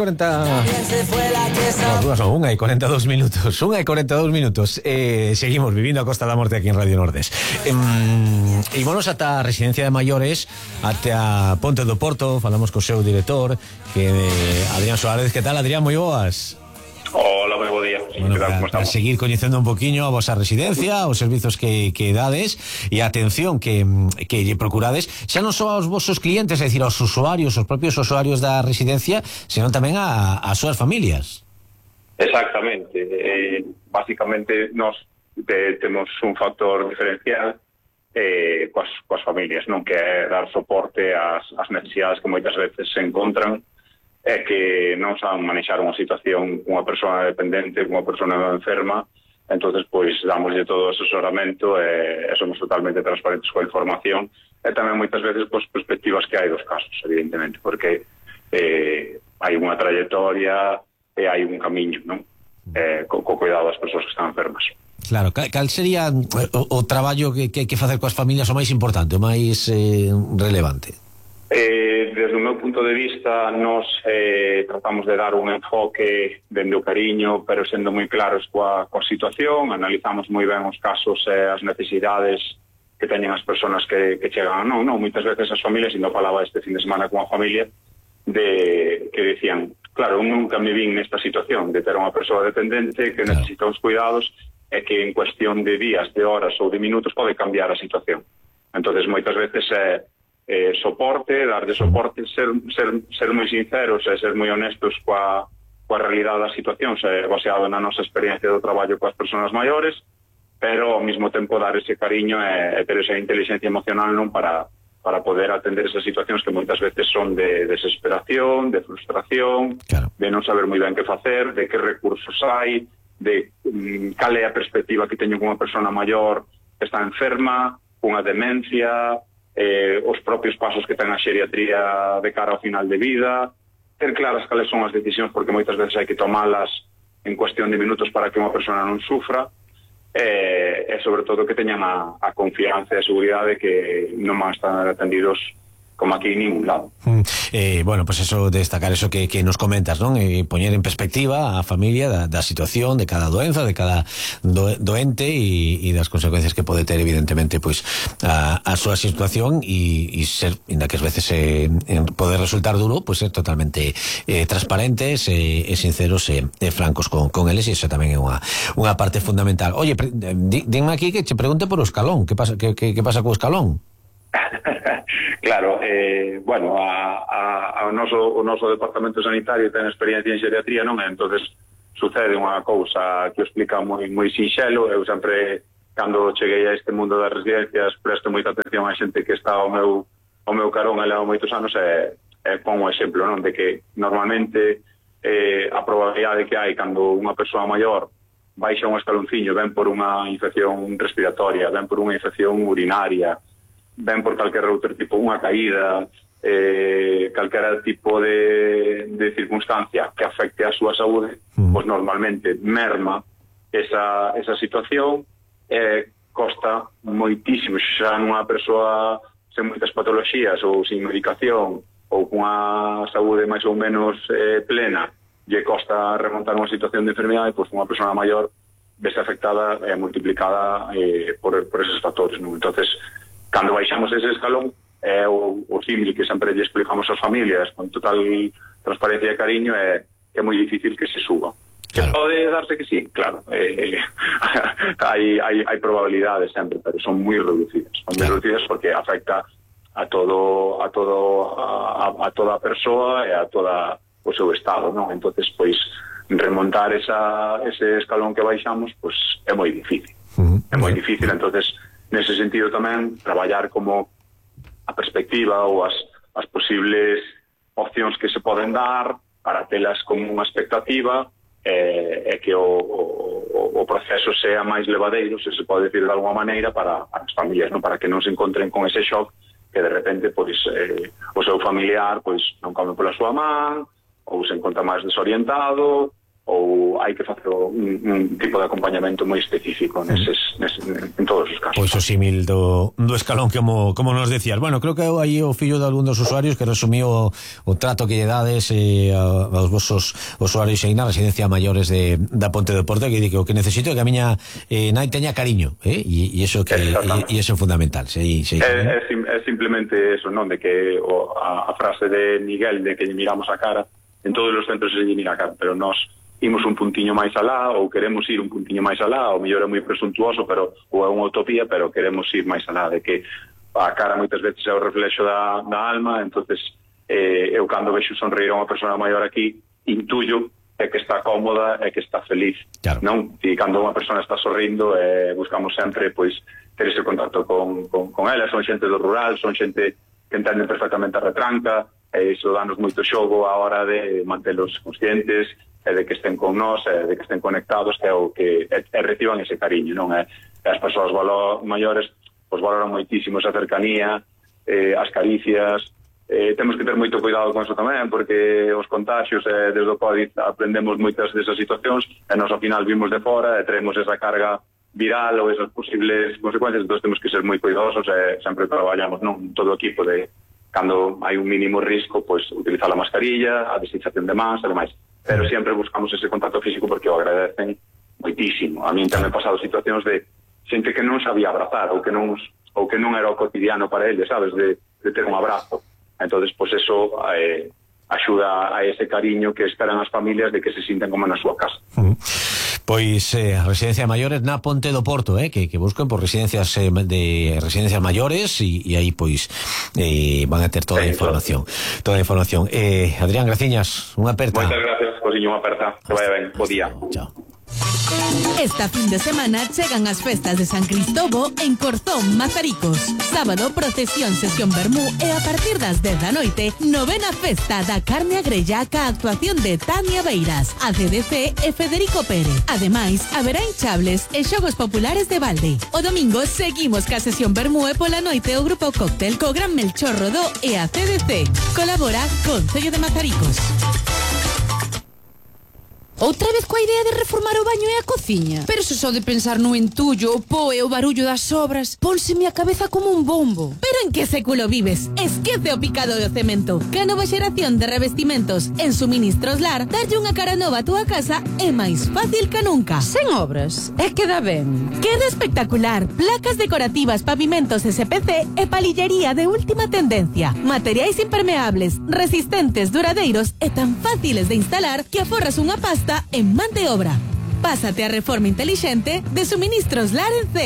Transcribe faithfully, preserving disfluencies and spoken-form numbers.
cuarenta... No, dúas non, unha e cuarenta e dous minutos. Unha e cuarenta e dous minutos. Eh, seguimos vivindo a Costa da Morte aquí en Radio Nordés. Eh, e vamos ata a residencia de maiores, ata a Ponte do Porto. Falamos co seu director, que é Adrián Suárez. Que tal, Adrián? Moi boas. Hola, moi bo día. Bueno, para, para seguir coñecendo un poquinho a vosa residencia, os servizos que, que dades e a atención que, que lle procurades, xa non só aos vosos clientes, é dicir, aos usuarios, os propios usuarios da residencia, senón tamén a, a súas familias. Exactamente. Eh, básicamente, nós te, temos un factor diferencial eh, coas, coas familias, non, que é dar soporte ás, ás necesidades que moitas veces se encontran é que non saben manexar unha situación cunha persona dependente, cunha persona enferma. Entonces, pois, damoslle todo o asesoramento e, e somos totalmente transparentes coa información e tamén moitas veces pois, perspectivas que hai dos casos, evidentemente, porque eh, hai unha trayectoria e hai un camiño, non? Eh, co, co cuidado das persoas que están enfermas. Claro, cal, cal sería o, o traballo que, que hai que facer coas familias o máis importante, o máis eh, relevante? Eh, desde o meu punto de vista, nos eh, tratamos de dar un enfoque dende o cariño, pero sendo moi claros coa, coa situación, analizamos moi ben os casos e eh, as necesidades que teñen as persoas que, que chegan. Non, non, moitas veces as familias, e non falaba este fin de semana con a familia, de que decían, claro, eu nunca me vin nesta situación de ter unha persoa dependente que necesita uns cuidados e que en cuestión de días, de horas ou de minutos pode cambiar a situación. Entonces, moitas veces é eh, Eh, soporte, dar de soporte, ser, ser, ser moi sinceros e ser moi honestos coa, coa realidade das situacións, eh, baseado na nosa experiencia do traballo coas persoas maiores, pero ao mesmo tempo dar ese cariño e, e ter esa inteligencia emocional non para, para poder atender esas situacións que moitas veces son de desesperación, de frustración, claro, de non saber moi ben que facer, de que recursos hai, de um, cal é a perspectiva que teño con unha persona maior que está enferma, cunha demencia, Eh, os propios pasos que ten a xeriatría de cara ao final de vida, ter claras cales son as decisións, porque moitas veces hai que tomalas en cuestión de minutos para que unha persona non sufra, e, e sobre todo que teñan a, a confianza e a seguridade que non van a estar atendidos como aquí en ningún lado. Mm, eh, bueno, pues eso, destacar eso que, que nos comentas, non? E poñer en perspectiva a familia da, da situación de cada doenza, de cada do, doente e, e das consecuencias que pode ter evidentemente pois a, a súa situación e, e ser, inda que as veces eh, pode resultar duro, pois ser totalmente eh, transparentes e, e sinceros e, e francos con, con eles, e iso tamén é unha, unha parte fundamental. Oye, pre, di, dime aquí que che pregunte por o escalón, que pasa, que, que, que pasa co escalón? Claro, eh, bueno, a, a, a noso, o noso departamento sanitario ten experiencia en xeriatría, non? Entonces sucede unha cousa que o explica moi, moi sinxelo. Eu sempre, cando cheguei a este mundo das residencias, presto moita atención a xente que está ao meu, ao meu carón e leva moitos anos, e, e pon o exemplo, non? De que normalmente eh, a probabilidade que hai cando unha persoa maior baixa un escalonciño, ven por unha infección respiratoria, ven por unha infección urinaria, ven por calquer outro tipo, unha caída, eh, calquera tipo de, de circunstancia que afecte a súa saúde, mm. pois normalmente merma esa, esa situación, e eh, costa moitísimo. Xa nunha persoa sen moitas patoloxías ou sin medicación ou cunha saúde máis ou menos eh, plena, lle costa remontar unha situación de enfermidade, pois unha persona maior vese afectada e eh, multiplicada eh, por, por esos factores, non? Entonces, cando baixamos ese escalón, é o, o símil que sempre lle explicamos ás familias con total transparencia e cariño, é que é moi difícil que se suba. Claro. Que pode darse que sí, claro. Eh, hai, hai, hai probabilidades sempre, pero son moi reducidas. Son moi reducidas porque afecta a todo a todo a, a toda a persoa e a toda o seu estado, non? Entonces, pois, remontar esa, ese escalón que baixamos, pois, é moi difícil. Uh-huh. É moi difícil, entonces, nese sentido tamén, traballar como a perspectiva ou as, as posibles opcións que se poden dar para telas como unha expectativa e, e que o, o, o proceso sea máis levadeiro, se se pode decir de alguma maneira, para, para as familias, non? Para que non se encontren con ese shock que de repente pois, eh, o seu familiar pois non come pola súa man, ou se encontra máis desorientado, ou hai que facer un, un tipo de acompañamento moi específico neses, neses, en todos os casos. Pois o símil do, do escalón como, como nos decías. Bueno, creo que aí o fillo de algún dos usuarios que resumiu o, o trato que lle dades eh, aos vosos usuarios aí na residencia maiores de, da Ponte do Porto, que di que o que necesito é que a miña eh, nai teña cariño, eh? e, e iso que e, e iso é fundamental. Sí, sí, é, é, sim, é simplemente eso, non? De que o, a, a frase de Miguel de que lle miramos a cara, en todos os centros se lle mira a cara, pero nós imos un puntiño máis alá, ou queremos ir un puntiño máis alá, ou mellor é moi presuntuoso, pero ou é unha utopía, pero queremos ir máis alá, de que a cara moitas veces é o reflexo da, da alma. Entonces eh, eu cando vexo sonreír a unha persona maior aquí, intuyo é que está cómoda, é que está feliz, claro. Non? E cando unha persona está sorrindo, eh, buscamos sempre pois ter ese contacto con, con, con ela. Son xente do rural, son xente que entenden perfectamente a retranca, e iso danos moito xogo a hora de mantelos conscientes, e de que estén con nós, e de que estén conectados, que é o que e, e reciban ese cariño, non é? As persoas valo, maiores pois valoran moitísimo esa cercanía, eh, as caricias. Eh, temos que ter moito cuidado con eso tamén, porque os contagios, eh, desde o COVID aprendemos moitas desas situacións, e nós ao final vimos de fora e traemos esa carga viral ou esas posibles consecuencias. Entón temos que ser moi cuidadosos, e sempre traballamos, non, todo o equipo de cando hai un mínimo risco, pois utilizar a mascarilla, a desinfección de mans e demais. Pero sempre buscamos ese contacto físico porque o agradecen moitísimo. A mí tamén he pasado situacións de xente que non sabía abrazar, ou que non ou que non era o cotidiano para eles, sabes, de, de ter un abrazo. Entonces, pois pues eso eh, axuda a ese cariño que esperan as familias de que se sinten como na súa casa. Uh-huh. Pois eh, residencia maiores na Ponte do Porto, eh, que, que busquen por residencias eh, de residencias maiores, e, e aí pois eh, van a ter toda a información, toda a información. Eh, Adrián Graciñas, unha aperta. Moitas gracias, cosiño, unha aperta. Que vaya ben, bo día. Chao. Esta fin de semana chegan as festas de San Cristobo en Corzón, Mazaricos. Sábado, procesión, sesión vermú e a partir das dez da noite, novena festa da carne a grella ca actuación de Tania Beiras, A C D C e Federico Pérez. Ademais, haberá hinchables e xogos populares de balde. O domingo seguimos ca sesión vermú e pola noite o grupo Cóctel co Gran Melchor Rodó e A C D C. Colabora Concello de Mazaricos. Outra vez coa idea de reformar o baño e a cociña? Pero se só de pensar no entullo, o po e o barullo das obras, pónseme a cabeza como un bombo. Pero en que século vives? Esquece o picado do cemento. Que a nova xeración de revestimentos en Suministros Lar darlle unha cara nova a túa casa é máis fácil que nunca. Sen obras, é que dá ben. Queda espectacular. Placas decorativas, pavimentos S P C e palillería de última tendencia. Materiais impermeables, resistentes, duradeiros e tan fáciles de instalar que aforras unha pasta en man de obra. Pásate a reforma inteligente de Suministros Lar en C.